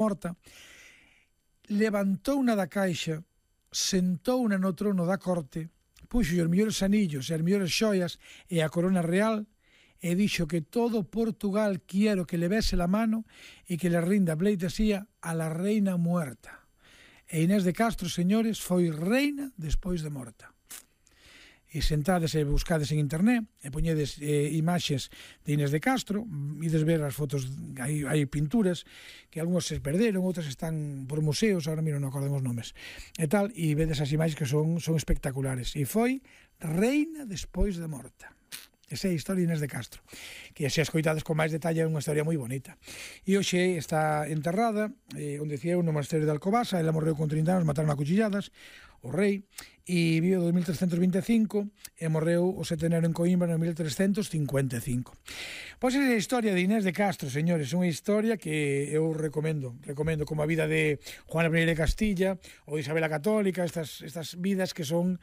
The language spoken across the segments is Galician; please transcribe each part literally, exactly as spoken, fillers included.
morta, levantou unha da caixa, sentou una no trono da corte, puxo os mellores anillos e as mellores xoias e a corona real e dixo que todo Portugal quiero que le bese la mano e que le rinda pleitesía a la reina muerta. E Inés de Castro, señores, foi reina despois de morta. E sentades e buscades en internet e poñedes eh, imaxes de Inés de Castro, ides ver as fotos, hai, hai pinturas que algúns se perderon, outras están por museos, agora miro, non acordo os nomes e tal, e vedes as imaxes que son, son espectaculares, e foi reina despois de morta. Esa é a historia de Inés de Castro, que se escoitades con máis detalle é unha historia moi bonita. E hoxe está enterrada, eh, onde decía eu, no monasterio de Alcobasa. Ela morreu con trinta anos, mataron a cuchilladas, o rei, e vive do mil trescentos vinte e cinco e morreu o sete de enero en Coimbra no mil trescentos cincuenta e cinco. Pois é a historia de Inés de Castro, señores, unha historia que eu recomendo, recomendo como a vida de Juana I de Castilla ou de Isabel a Católica, estas, estas vidas que son,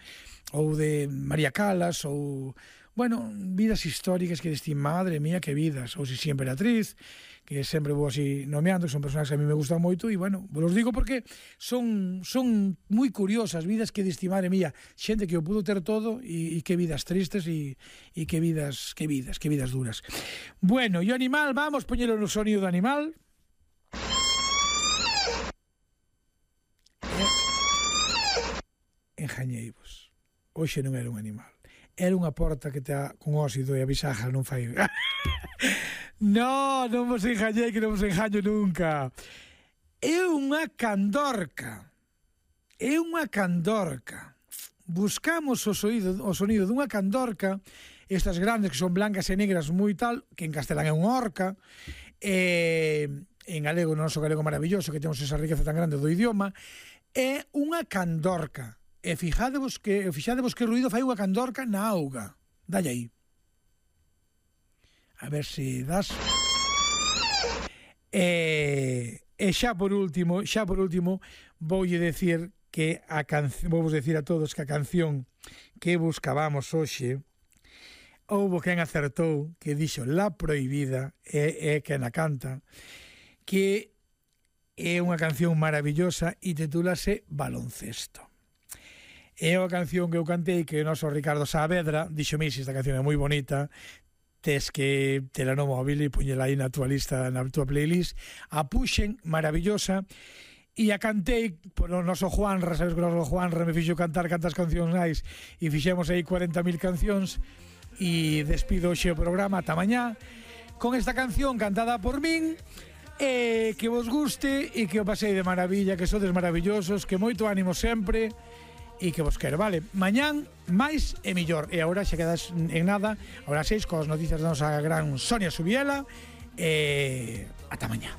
ou de María Calas, ou bueno, vidas históricas que destí, madre mía, que vidas, ou si si Emperatriz, que sempre vou así nomeando, que son personajes que a mí me gustan moito, e bueno, vos digo porque son son moi curiosas, vidas que destí, madre mía, xente que o pudo ter todo, e, e que vidas tristes, e, e que vidas, que vidas, que vidas duras. Bueno, e o animal, vamos poñelo no sonido do animal. Enjañeivos. Hoxe non era un animal. Era unha porta que está con óxido e a bisaja non fai... No, non vos enjañei, que non vos enjaño nunca. É unha candorca. É unha candorca. Buscamos o sonido, o sonido dunha candorca, estas grandes que son blancas e negras moi tal, que en castelán é unha orca, e en galego, no noso galego maravilloso, que temos esa riqueza tan grande do idioma, é unha candorca. E fixadevos que, fixadevos que ruido fai unha candorca na auga. Dalle aí. A ver se das. E, e xa por último, xa por último, voulle decir que a canción, vou vos decir a todos que a canción que buscábamos hoxe, houbo quen acertou, que dixo La Prohibida, e, e quen a canta, que é unha canción maravillosa e titúlase Baloncesto. É unha canción que eu cantei, que o noso Ricardo Saavedra dixo: "Misi, esta canción é moi bonita, tes que tela no móvil e poñela aí na tua lista, na tua playlist". A puxen, maravillosa, e a cantei por o noso Juanra. Sabes que o noso Juanra me fixo cantar cantas cancións máis, e fixemos aí cuarenta mil cancións, e despido hoxe o programa ata mañá con esta canción cantada por min. E que vos guste e que o pasei de maravilla, que sodes maravillosos, que moito ánimo sempre e que vos quero, vale? Mañán máis e millor. E agora xa quedas en nada, agora seis, coas noticias da nosa gran Sonia Subiela, e ata mañá.